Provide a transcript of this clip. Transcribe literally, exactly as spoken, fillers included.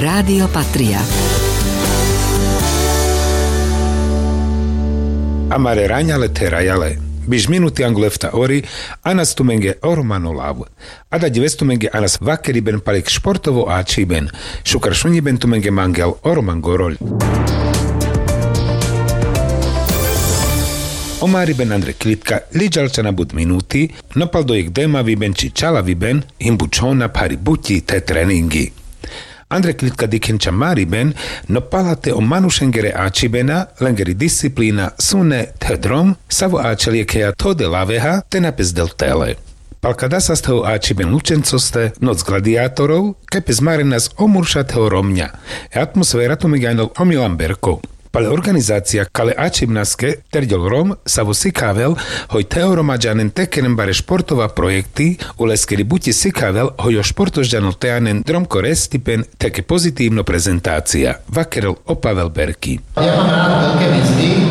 Rádio Patria. Amare raňa le therajale. Biš minuti angol efta ori, anas tumenge o Romano Lav. Ada dives tumenge anas vakeriben pal jekh športovo ačhiben. Šukar šunjiben tumenge mangel, o Roman Gorolj. O mariben Andre Kljitka, liđal čana but minuti, no pal do jekh demaviben či čalaviben, him bučhona phari buti the treningi. Andre Kljitka dikhen ča mariben, no pala the o manušengere ačhibena, lengeri disciplina, sune, the drom, savo ačhel jekheja thode laveha, te na pes del tele. Pal kadasas the o ačhiben Lučencoste, Noc gladijatorov, kaj pes marenas o murša the o Romňa. E atmosfera tumenge anel o Milan Berko. Pal e organizacija kale ačhibnaske, terđol Rom, savo sikhavel, hoj the o Romaďanen te keren bare športova projekti, uleskeri buti sikhavel, hoj o športožďanol te anen drom ko restipen, theke pozitivno prezentacija, vakerel o Pavel Berki. Ja mám rád veľké mzdy.